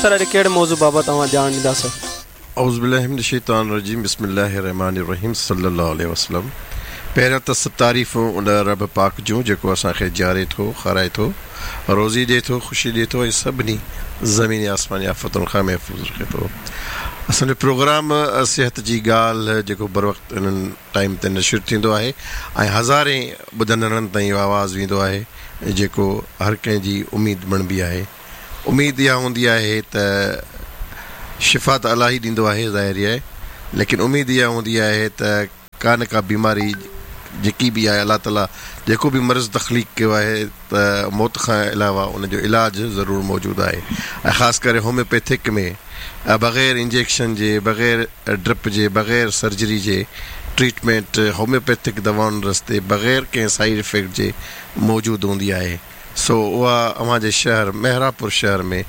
سر اڄ ڪهڙي موضوع بابت اوهان ڄاڻ ڏينداسين. اعوذ بالله من الشيطان الرجيم بسم الله الرحمٰن الرحيم صلي الله عليه وسلم پهريان ته سڀ تعريفون ان رب پاڪ جون جيڪو اسان کي جياري ٿو کارائي ٿو روزي ڏي ٿو خوشي ڏي ٿو ۽ سڀني زميني آسماني آفتن کان محفوظ رکي ٿو اسان جو پروگرام صحت جي ڳالهه جيڪو بروقت انهن ٽائيم تي نشر ٿيندو آهي ۽ هزارين ٻڌندڙن تائين اهو آواز ويندو آهي جيڪو هر ڪنهن جي اميد بڻبي آهي. اميد اها هوندي آهي ته شفا ته الله ئي ڏيندو آهي ظاهر آهي ليڪن اميد اها هوندي آهي ته ڪا نه ڪا بيماري جيڪي به آهي الله تعالي جيڪو به مرض تخليق ڪيو آهي ته موت کان علاوه ان جو علاج ضرور موجود آهي ۽ خاص ڪري هوميوپيٿڪ ۾ بغير انجيڪشن جي بغير ڊرپ جي بغير سرجري جي ٽريٽمينٽ هوميوپيٿڪ دوائن رستي بغير ڪنهن سائيڊ افيڪٽ جي موجود هوندي آهي سو اها اوهان جي شهر محرابپور شهر ۾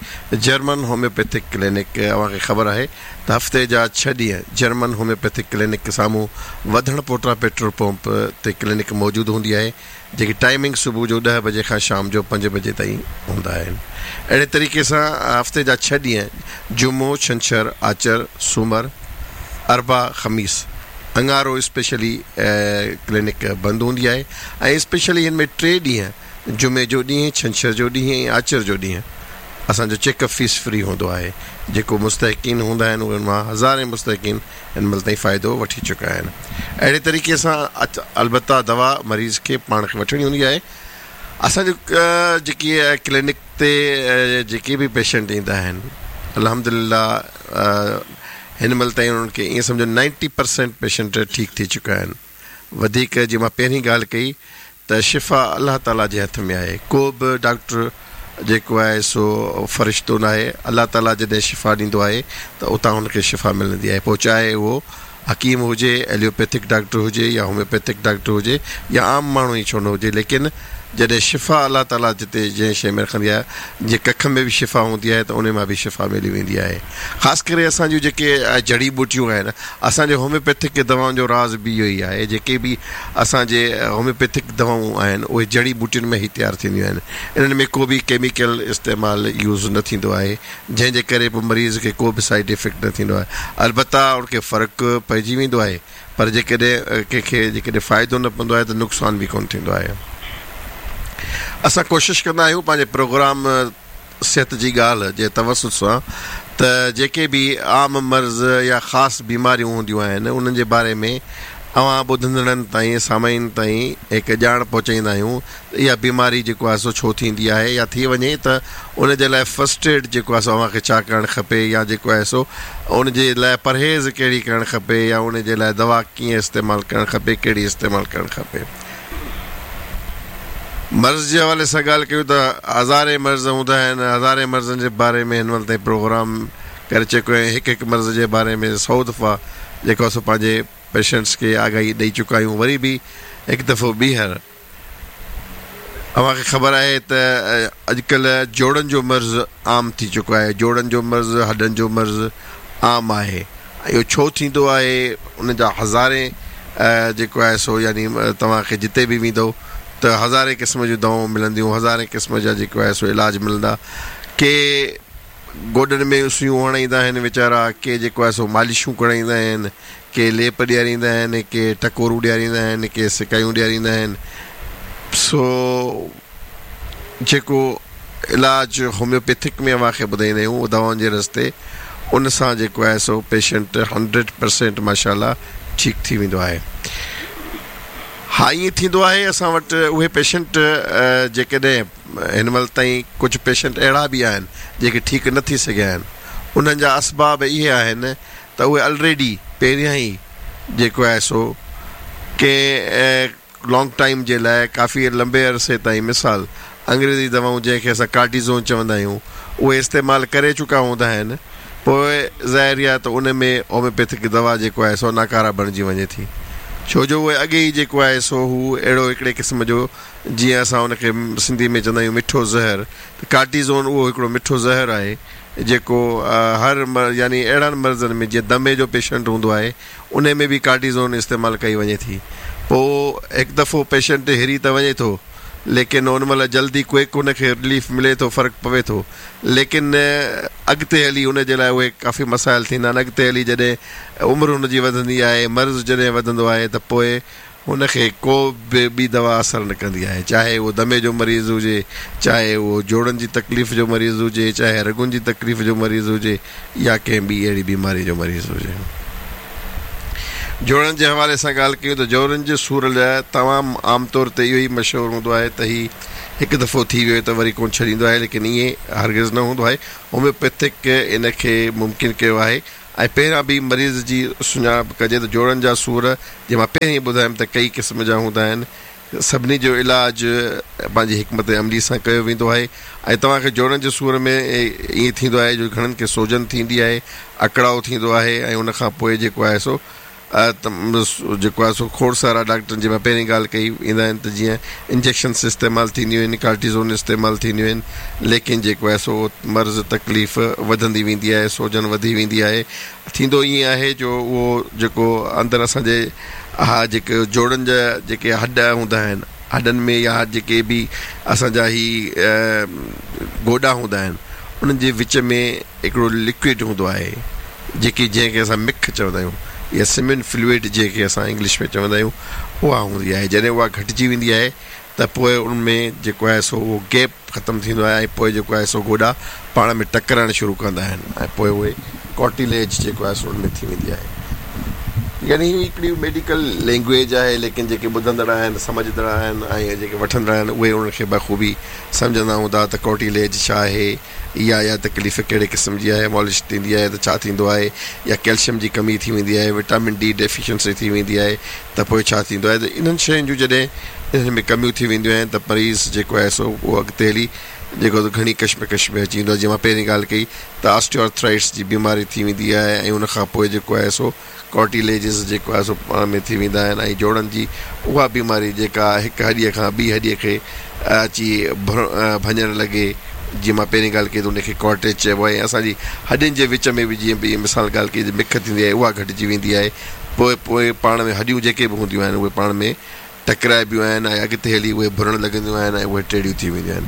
جرمن هوميوپيٿڪ ڪلينڪ اوهان کي خبر آهي ته هفتي جا ڇهه ڏينهن جرمن هوميوپيٿڪ ڪلينڪ سامهون وڌڻ پوٽا پيٽرول پمپ تي ڪلينڪ موجود هوندي آهي جيڪي ٽائمنگ صبح جو ڏهه بجي کان شام جو پنج بجي تائين هوندا آهن. اهڙي طريقي سان هفتي جا ڇهه ڏينهن جمعو، ڇنڇر، آچر، سومر، اربع، خميس، اڱارو اسپيشلي ڪلينڪ بند هوندي آهي ۽ اسپيشلي هن ۾ ٽي ڏينهن جمعي جو ڏينهن، ڇنڇر جو ڏينهن ۽ آچر جو ڏينهن اسان جو چيڪ اپ فيس فري هوندو آهي جيڪو مستحقين هوندا آهن انهن مان هزارين مستحقين هن مهل تائين فائدو وٺي چڪا آهن. اهڙي طريقي سان البته دوا مريض کي پاڻ کي وٺڻي هوندي آهي. اسان جو جيڪي ڪلينڪ تي جيڪي به پيشنٽ ايندا آهن الحمدلله هن مهل تائين انهن کي ائين سمجهو نائنٽي پرسينٽ پيشنٽ ٺيڪ ٿي چڪا آهن. وڌيڪ جيئن مان پهرين ڳالهه ڪئي ته شفا الله تعاليٰ جي هٿ ۾ آهي ڪو به ڊاڪٽر جيڪو آهي سو فرشتو ناهي الله تعاليٰ جڏهن شفا ڏيندو آهي ته اتان هن کي شفا ملندي آهي پوء چاهي اهو حڪيم هجي ايلوپيٿڪ ڊاڪٽر هجي يا هوميوپيٿڪ ڊاڪٽر هجي يا عام ماڻهو ئي ڇو نه هجي ليڪن جڏهن شفا الله تعاليٰ جتي جنهن شيء ۾ رکندي آهي جيئن ڪک ۾ به شفا هوندي آهي ته انهي مان به شفا ملي ويندي آهي. خاص ڪري اسان جون جيڪي جڙي ٻوٽيون آهن اسان جي هوميوپيٿڪ دوائن جو راز به اهو ئي آهي جيڪي به اسان جي هوميوپيٿڪ دوائون آهن اهي جڙي ٻوٽين ۾ ئي تيار ٿينديون آهن انهن ۾ ڪو به ڪيميڪل استعمال يوز نه ٿيندو آهي جنهن جي ڪري پوء مريض کي ڪو به سائيڊ افيڪٽ نه ٿيندو آهي البته ان کي فرق پئجي ويندو آهي پر جيڪڏهن ڪنهن کي جيڪڏهن فائدو نه پوندو آهي ته نقصان به ڪونه ٿيندو آهي. اسان ڪوشش ڪندا آهيون پنهنجي پروگرام صحت جي ڳالهه جي توسط سان ته جيڪي به عام مرض يا خاص بيماريون هونديون آهن انهن جي باري ۾ اوهان ٻڌندڙن تائين سامعين تائين هڪ ڄاڻ پهچائيندا آهيون ته اها بيماري جيڪو آهي سو ڇو ٿيندي آهي يا ٿي وڃي ته ان جي لاء فرسٽ ايڊ جيڪو آهي سو اوهان کي ڇا ڪرڻ کپي يا جيڪو آهي سو ان جي لاء پرهيز ڪهڙي ڪرڻ کپي يا ان جي لاء دوا ڪيئن استعمال ڪرڻ کپي ڪهڙي استعمال ڪرڻ کپي. مرض جي حوالي سان ڳالهه ڪيون ته هزارين مرض هوندا آهن هزارين مرضن جي باري ۾ هن مهل تائين پروگرام ڪري چڪو آهيان هڪ هڪ مرض جي باري ۾ سئو دفعا جيڪو آهي سو پنهنجي پيشنٽس کي آگاهي ڏئي چڪا آهيون وري به هڪ دفعو ٻيهر اوهان کي خبر آهي ته اڄڪلهه جوڙن جو مرض عام ٿي چڪو آهي جوڙن جو مرض هڏن جو مرض عام آهي ۽ اهو ڇو ٿيندو آهي ان جا هزارين جيڪو آهي سو يعني توهان کي جتي به ويندو ته هزارين قسم جون دوائون ملنديون هزارين قسم جا جيڪو آهي سو علاج ملندا ڪي گوڏن ۾ سيون هڻائيندا آهن ويچارا، ڪي جيڪو آهي سو مالشون ڪرائيندا آهن، ڪي ليپ ڏياريندا آهن، ڪي ٽڪورون ڏياريندا آهن، ڪي سڪايون ڏياريندا آهن. سو جيڪو علاج هوميوپيٿڪ ۾ اوهان کي ٻڌائيندا آهيون اهو دوائن جي رستي ان سان جيڪو آهي سو پيشنٽ هنڊريڊ پرسينٽ ماشاء الله ٺيڪ ٿي ويندو آهي. ها ائين ٿيندو آهي اسان وٽ اهي پيشنٽ جيڪڏهن هن مهل تائين ڪجهه پيشنٽ اهڙا به آهن جيڪي ٺيڪ نه ٿي سگهيا آهن انهن جا اسباب اهي آهن ته اهي الريڊي پهريان ئي جيڪو آهي سو ڪنهن لانگ ٽائيم جي لاء ڪافي لنبي عرصي تائين مثال انگريزي دوائون جنهن کي اسان ڪارٽيزون چوندا آهيون اهي استعمال ڪري چڪا هوندا آهن پوء ظاهر آهي ته ان ۾ هوميوپيٿڪ دوا جيڪو آهي سو ناڪاره بڻجي وڃي ٿي ڇو جو اهي اڳي ئي جيڪو آهي سو هو اهڙو هڪڙي قسم جو جيئن اسان ان کي سنڌي ۾ چوندا آهيون مٺو زهر ته ڪارٽيزون اهو هڪڙو مٺو زهر آهي جيڪو هر يعني اهڙن مرضن ۾ جيئن دمي جو پيشنٽ هوندو آهي انهي ۾ به ڪارٽيزون استعمال ڪئي وڃي ٿي پوء هڪ دفعو پيشنٽ هري ته وڃي ٿو ليڪن ان مهل جلدي ڪوئڪ ان کي رليف ملي ٿو فرق پوي ٿو ليڪن اڳتي هلي ان جي لاء اهي ڪافي مسائل ٿيندا آهن اڳتي هلي جڏهن عمر هن جي وڌندي آهي مرض جڏهن وڌندو آهي ته پوء هن کي ڪو به ٻي دوا اثر نه ڪندي آهي چاهي اهو دمي جو مريض هجي چاهي اهو جوڙن جي تڪليف جو مريض هجي چاهي رڳن جي تڪليف جو مريض هجي يا ڪنهن ٻي اهڙي بيماري جو مريض هجي. جوڙن جي حوالي سان ڳالهه ڪيون ته جوڙن جي سور لاء تمام عام طور تي اهو ئي مشهور هوندو آهي ته هي هڪ دفعو ٿي ويو ته وري ڪونه ڇڏيندو آهي ليڪن ائين هرگز نه هوندو آهي هوميوپيٿڪ ان کي ممڪن ڪيو آهي ۽ پهريان به مريض جي سڃاڻپ ڪجي ته جوڙن جا سور جيئن مان پهرين ٻڌايم ته ڪئي قسم جا هوندا آهن سڀني جو علاج پنهنجي حڪمت عملي سان ڪيو ويندو آهي ۽ توهان کي جوڙن جي سور ۾ ائين ٿيندو آهي جو گهڻن کي سوجن ٿيندي آهي اڪڙاء ٿيندو آهي ۽ ان کان پوء جيڪو آهي سو جيڪو آهي سو کوڙ سارا ڊاڪٽرن جي مان پهرين ڳالهه ڪئي ايندا آهن ته جيئن انجيڪشنس استعمال ٿينديون آهن ڪارٽيزون استعمال ٿينديون آهن ليڪن جيڪو آهي سو مرض تڪليف وڌندي ويندي آهي سوجن وڌي ويندي آهي ٿيندو ائين آهي جو اهو جيڪو اندر اسان جي اها جيڪي جوڙن جا جيڪي هڏ هوندا آهن هڏن ۾ يا جيڪي به اسان جا هي گوڏا هوندا آهن انهن جي وچ ۾ هڪڙو لڪوئڊ هوندو آهي جيڪي جنهن کي اسان مک چوندا آهيون يا سمين فلوئڊ جنهن کي اسان انگلش ۾ چوندا آهيون اها هوندي آهي جڏهن اها گهٽجي ويندي آهي ته پوء ان ۾ جيڪو آهي سو اهو گيپ ختم ٿيندو آهي ۽ پوء جيڪو آهي سو گوڏا پاڻ ۾ ٽڪرائڻ شروع ڪندا آهن ۽ پوء اهي ڪارٽيليج جيڪو آهي سو ان ۾ ٿي ويندي آهي يعني هي هڪڙي ميڊيڪل لينگويج آهي ليڪن جيڪي ٻڌندڙ آهن سمجهندڙ آهن ۽ جيڪي وٺندڙ آهن اهي ان کي بخوبي سمجهندا هوندا ته ڪارٽيليج ڇا آهي يا اها تڪليف ڪهڙي قسم جي آهي مالش ٿيندي آهي ته ڇا ٿيندو آهي يا ڪيلشم جي ڪمي ٿي ويندي آهي وٽامن ڊي ڊيفيشنسي ٿي ويندي آهي ته پوء ڇا ٿيندو آهي ته انهن شين جون جڏهن انهن ۾ ڪميون ٿي وينديون آهن ته مريض جيڪو آهي سو اهو اڳتي هلي جيڪو گهڻي ڪشمڪش ۾ اچي ويندو آهي جيئن مان پهرين ڳالهه ڪئي ته آسٽيو آرٿرائٽس جي بيماري ٿي ويندي آهي ۽ ان کان پوء جيڪو آهي سو ڪارٽيليجز جيڪو آهي سو پاڻ ۾ ٿي ويندا آهن ۽ جوڙن جي اها بيماري جيڪا هڪ هڏيء کان ٻي هڏيء کي اچي ڀڃڻ لڳي جيئن مان پهرين ڳالهه ڪئي ته ان کي ڪارٽيج چئبو آهي ۽ اسان جي هڏين جي وچ ۾ به جيئن به مثال ڳالهه ڪئي ته مک ٿيندي آهي اها گهٽجي ويندي آهي پوء پوء پاڻ ۾ هڏيون جيڪي به هونديون آهن اهي پاڻ ۾ ٽڪرائبيون آهن ۽ اڳتي هلي اهي ڀرڻ لڳنديون آهن ۽ اهي ٽيڙيون ٿي وينديون آهن.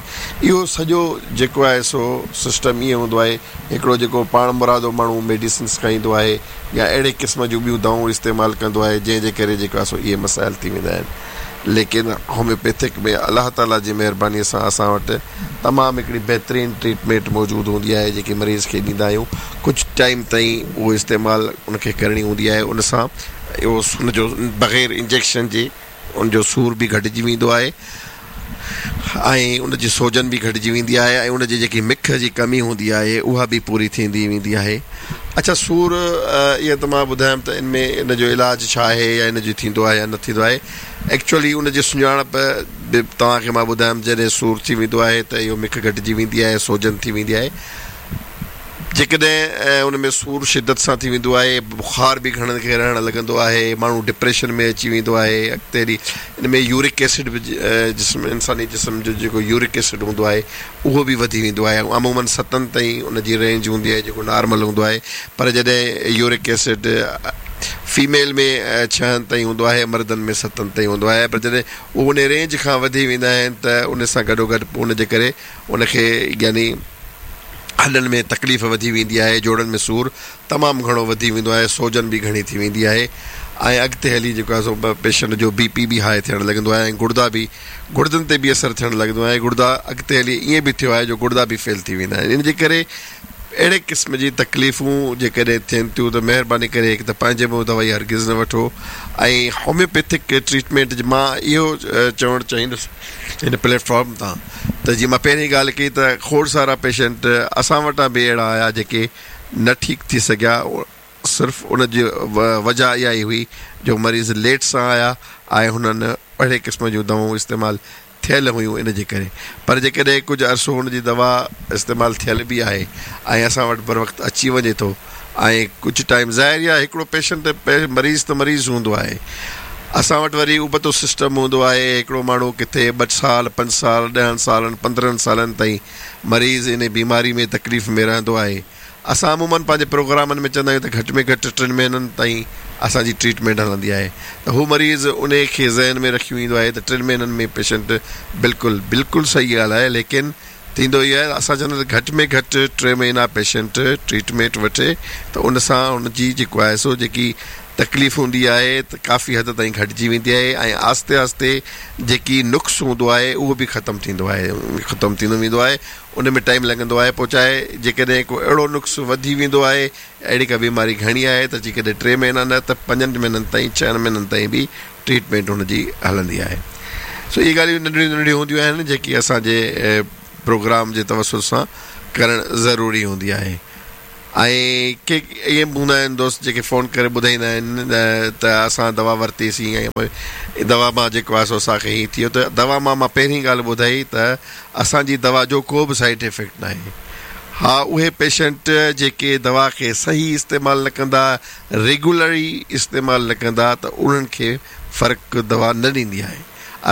اهو سڄو جيڪو آهي سو سسٽم ائين هوندو آهي هڪڙو جيڪو پاڻ مرادو ماڻهو ميڊيسنس کائيندو آهي يا اهڙي قسم جون ٻيون دوائون استعمال ڪندو آهي جنهن جي ڪري جيڪو آهي سو اهي مسائل ٿي ويندا آهن ليڪن هوميوپيٿڪ ۾ الله تعالي جي مهرباني سان اسان وٽ تمام هڪڙي بهترين ٽريٽمينٽ موجود هوندي آهي جيڪي مريض کي ڏيندا آهيون ڪجهه ٽائيم تائين اهو استعمال ان کي ڪرڻي هوندي آهي ان سان اهو ان جو بغير انجيڪشن جي ان جو سور به گهٽجي ويندو آهي ۽ ان جي سوجن به گهٽجي ويندي آهي ۽ ان جي جيڪي مک جي ڪمي هوندي آهي اها به پوري ٿيندي ويندي آهي اڇا سور اهو ته مان ٻڌايم ته ان ۾ ان جو علاج ڇا آهي يا ان جو ٿيندو آهي يا نه ٿيندو آهي ايڪچوئلي ان جي سڃاڻپ به توهان کي مان ٻڌايم جڏهن سور ٿي ويندو آهي ته اهو مک گهٽجي ويندي آهي سوجن ٿي ويندي آهي جيڪڏهن ان ۾ سور شدت سان ٿي ويندو آهي، بخار به گهڻن کي رهڻ لڳندو آهي، ماڻهو ڊپريشن ۾ اچي ويندو آهي، اڳتي هلي ان ۾ يورڪ ايسڊ به جسم انساني جسم جو جيڪو يورڪ ايسڊ هوندو آهي اهو به وڌي ويندو آهي عموماً ستن تائين ان جي رينج هوندي آهي جيڪو نارمل هوندو آهي پر جڏهن يورڪ ايسڊ فيميل ۾ ڇهن تائين هوندو آهي مردن ۾ ستن تائين هوندو آهي پر جڏهن اهو ان رينج کان وڌي ويندا آهن ته ان سان گڏوگڏ ان جي ڪري ان کي يعني هڏن ۾ تڪليف وڌي ويندي آهي، جوڙن ۾ سور تمام گهڻو وڌي ويندو آهي، سوجن به گهڻي ٿي ويندي آهي ۽ اڳتي هلي جيڪو آهي سو پيشنٽ جو بي پي به هاء ٿيڻ لڳندو آهي ۽ گڙدا به گڙدن تي به اثر ٿيڻ لڳندو آهي گڙدا اڳتي هلي ائين به ٿيو آهي جو گڙدا به فيل ٿي ويندا آهن ان جي ڪري اهڙي قسم جي تڪليفون جيڪڏهن ٿين ٿيون ته مهرباني ڪري هڪ ته پنهنجي منهن دوائي هرگز نه وٺو ۽ هوميوپيٿڪ ٽريٽمينٽ مان اهو چوڻ چاهيندس هن پليٽ فارم تان ته جيئن مان پهرين ڳالهه ڪئي ته کوڙ سارا پيشنٽ اسان وٽان به اهڙا آيا جيڪي نه ٺيڪ ٿي سگهيا صرف ان جي وجهه اها ئي هئي جو مريض ليٽ سان آيا ۽ هنن اهڙي قسم جون دوائون استعمال ٿيل هيون ان جي ڪري پر جيڪڏهن ڪجهه عرصو ان جي دوا استعمال ٿيل به آهي ۽ اسان وٽ بروقت اچي وڃي ٿو ۽ ڪجهه ٽائيم ظاهر آهي هڪڙو پيشنٽ مريض ته مريض هوندو آهي اسان وٽ وري ابتو سسٽم هوندو آهي هڪڙو ماڻهو ڪٿي ٻه سال پنج سال ڏهن سالن پندرهن سالن تائين مريض ان بيماري ۾ تڪليف ۾ رهندو آهي اسان عموماً پنهنجي پروگرامن ۾ چوندا آهيون ته گهٽ ۾ گهٽ ٽن مهينن تائين اسان جي ٽريٽمينٽ هلندي آهي ته هو مريض انهي کي ذهن ۾ رکي ايندو آهي ته ٽن مهينن ۾ پيشنٽ بلڪل بلڪل صحيح ڳالهه آهي ليڪن ٿيندو اهو آهي اسان چوندا آهيون ته گهٽ ۾ گهٽ ٽي مهينا پيشنٽ ٽريٽمينٽ وٺي ته ان سان ان جي جيڪو آهي سو جيڪي تڪليف هوندي آهي ته ڪافي حد تائين گهٽجي ويندي آهي ۽ آهستي آهستي جيڪي نقص هوندو آهي اهو به ختم ٿيندو آهي ختم ٿيندو ويندو آهي ان ۾ ٽائيم لڳندو آهي پوء چاهي جيڪڏهن ڪو اهڙو نقص وڌي ويندو آهي اهڙي ڪا بيماري گهڻي آهي ته جيڪڏهن ٽي مهينا نه ته پنجن مهينن تائين ڇهن مهينن تائين به ٽريٽمينٽ هن جي هلندي آهي سو اهي ڳالهيون ننڍڙيون ننڍڙيون هونديون آهن جيڪي اسان جي پروگرام جي توسط سان ڪرڻ ضروري هوندي آهي ۽ ڪي ائين به هوندا آهن دوست جيڪي فون ڪري ٻڌائيندا آهن ته اسان دوا ورتي سين ۽ دوا مان جيڪو آهي سو اسان کي هيئن ٿي ويو ته دوا مان مان پهرين ڳالهه ٻڌائي ته اسان جي دوا جو ڪو به سائيڊ افيڪٽ ناهي ها اهي پيشنٽ جيڪي دوا کي صحيح استعمال نه ڪندا ريگولري استعمال نه ڪندا ته انهن کي فرق دوا نه ڏيندي آهي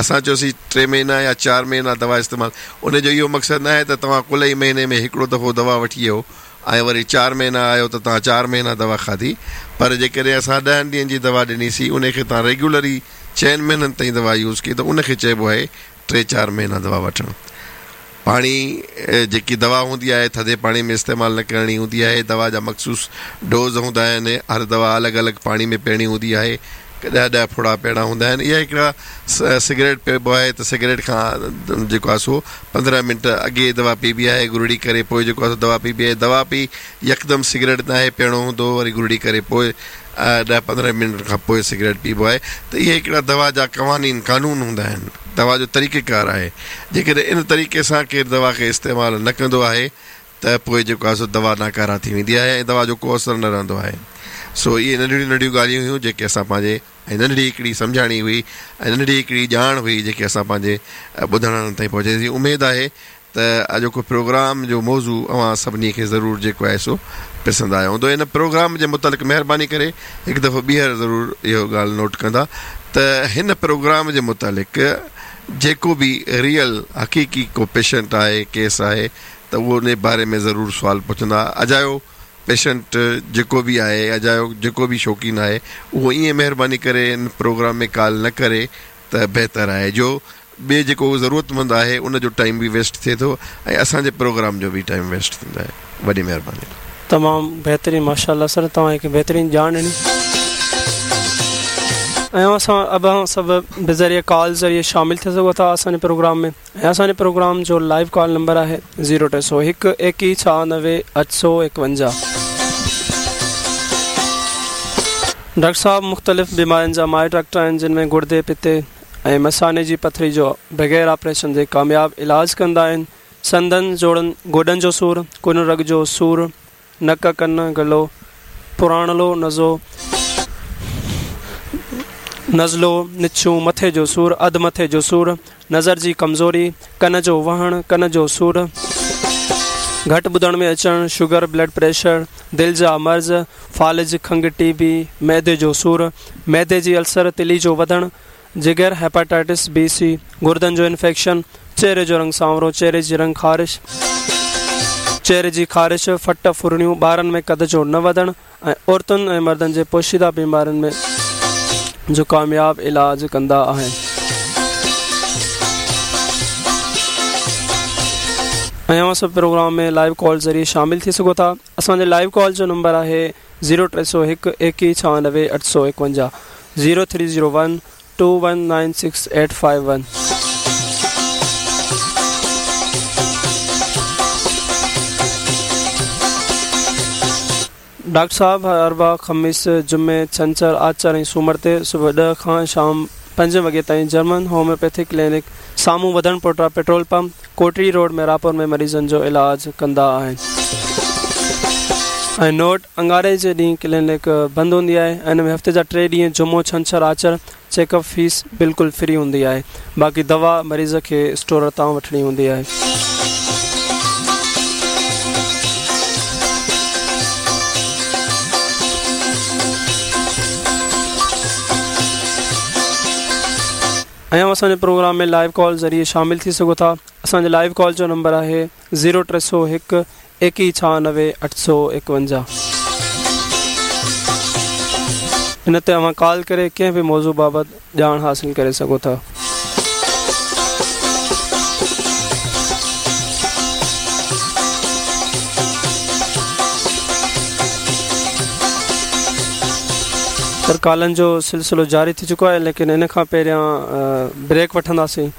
اسان چيوسين ٽي مهينا يا چار مهينا دوا استعمال ان جو اهو مقصد ناهي ته توهان ڪل ئي مهيني ۾ هڪڙو دفعو دوا وٺي ويو ۽ وري چار مهينا آيو ته توهان چار مهينا دوا کاڌي پر جيڪڏهن اسان ڏهن ڏينهن جي دوا ڏنيسين ان کي توهان ريگيولري چئن مهينن تائين دوا يوز ڪئي ته ان کي چئبو آهي ٽي چار مهينا دوا وٺڻ. پاڻي جيڪي دوا هوندي آهي ٿڌي پاڻي ۾ استعمال نه ڪرڻي هوندي آهي دوا جا مخصوص ڊوز هوندا آهن هر دوا الڳ الڳ پاڻي ۾ پيئڻي هوندي آهي ڏهه ڏهه ڦڙا پيئڻا هوندا آهن اها هڪڙا سگريٽ پيئبو آهي ته سگريٽ کان جيڪو آهي سو 15 منٽ اڳي دوا پيئبي آهي گرڙي ڪري پوء جيڪو آهي سو دوا پيئبي آهي دوا پي يڪدم سگريٽ ناهي پيئڻو هوندو وري گرڙي ڪري پوء ڏهه 15 منٽ کان پوء سگريٽ پيئبو آهي ته اهي هڪڙا دوا جا قوانين قانون هوندا آهن دوا جو طريقه ڪار آهي جيڪڏهن ان طريقي سان ڪير دوا کي استعمال نه ڪندو آهي ته پوء جيڪو آهي سو دوا ناڪاره ٿي ويندي آهي ۽ دوا جو ڪو اثر نه رهندو آهي. سو اهي ننڍڙيون ننڍڙيون ڳالهيون هيون جيڪي اسان پنهنجي ۽ ننڍڙي هڪڙي سمجهاڻي هئي ۽ ننڍڙي هڪڙي ڄاڻ هئي جيڪي اسان پنهنجي ٻڌڻ تائين پهچائيسين. اميد آهي ته اڄوڪو پروگرام جو موضوع اوهان سڀني کي ضرور جيڪو آهي سو پسند آيو هوندو. ان پروگرام جي متعلق مهرباني ڪري هڪ دفعو ٻيهر ضرور اهو ڳالهه نوٽ ڪندا ته هن پروگرام جي متعلق جيڪو به ريئل حقيقي ڪو پيشنٽ آهي ڪيس آهي ته اهو ان باري ۾ ضرور سوال پڇندا. اجايو پيشنٽ جيڪو به آهي اجايو جيڪو به شوقين آهي اهو ائين مهرباني ڪري ان پروگرام ۾ ڪال نه ڪري ته بهتر آهي جو ٻئي جيڪو ضرورتمند آهي ان جو ٽائيم به ويسٽ ٿئي ٿو ۽ اسان جي پروگرام جو به ٽائيم ويسٽ ٿيندو آهي. وڏي مهرباني. تمام بهترين ماشاءالله سر توهان هڪ بهترين ڄاڻ ڏني ۽ اسان اوهان سڀ بذريعي ڪال ذريعي شامل ٿي سگهو ٿا اسان جي پروگرام ۾ ۽ اسان جي پروگرام جو لائيو ڪال نمبر آهي زيرو 301 21 96 851. ڊاڪٽر صاحب مختلف بيمارين جا ماهر ڊاڪٽر آهن جن ۾ گڙدي پتي ۽ مثاني جي پٿري جو بغير آپريشن جي ڪامياب علاج ڪندا آهن سنڌن جوڙن گوڏن جو سور ڪن رڳ جو سور نڪ، ڪن، گلو، پراڻلو، نزو، نزلو، نڇون، مٿي جو سور، اڌ مٿي جو سور، نظر جي ڪمزوري، ڪن جو وهڻ، ڪن جو سور، گهٽ ٻڌڻ ۾ اچڻ، شگر، بلڊ پريشر، دل جا مرض، فالج، کنگهه، ٽي بي، معدي جو سور، معدي جي السر، تلي جو وڌڻ، جگر، هيپاٽائٽس بي سي، گردن جو انفيڪشن، چهري جو رنگ سانورو، چهري جي رنگ خارش، چهري جي خارش، ڦٽ ڦرڙيون، ٻارن ۾ قد جو نه وڌڻ ۽ عورتن ۽ مردن جي پوشيده بيمارين ۾ جو ڪامياب علاج ڪندا آهن. ۽ اوهان سڀ پروگرام ۾ لائيو ڪال ذريعي شامل ٿي سگهو ٿا. اسان جي لائيو ڪال جو نمبر آهي zero 301 21 96 851 zero three zero one two one nine six eight five one. Doctor صاحب هر اربع، خميس، جمعي، ڇنڇر، آچر ۽ سومر تي صبح 10 کان شام 5 وڳي تائين جرمن هوميوپيٿڪ ڪلينڪ سامهون وڌڻ پوٽا petrol pump, Kotri road Mehrabpur ۾ مريضن جو علاج ڪندا آهن. ۽ نوٽ، اڱاري جي ڏينهن ڪلينڪ بند هوندي آهي ۽ ان ۾ هفتي جا ٽي ڏينهن جمعو، ڇنڇر، آچر چيڪ اپ فيس بلڪل فري هوندي آهي باقي دوا مريض کي اسٽور تان وٺڻي هوندي آهي. ۽ اوهان اسان جي پروگرام ۾ لائيو ڪال ذريعي شامل ٿي سگهو ٿا اسان جي لائيو ڪال جو نمبر آهي زيرو 301 ايڪيهه 96 851. ان تي اوهان ڪال ڪري ڪنهن به موضوع بابت ڄاڻ حاصل ڪري سگهو ٿا. سر ڪالن جو سلسلو جاري ٿي چڪو آهي ليڪن ان کان پهريان بريڪ وٺنداسين.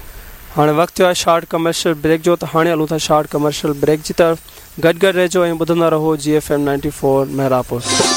هاڻي وقت ٿيو آهي شارٽ ڪمرشل بريڪ جو ته هاڻي هلون ٿا شارٽ ڪمرشل بريڪ جي طرف. گڏ گڏ رهجو ۽ ٻڌندا رهو جي ايف ايم 94 محرابپور.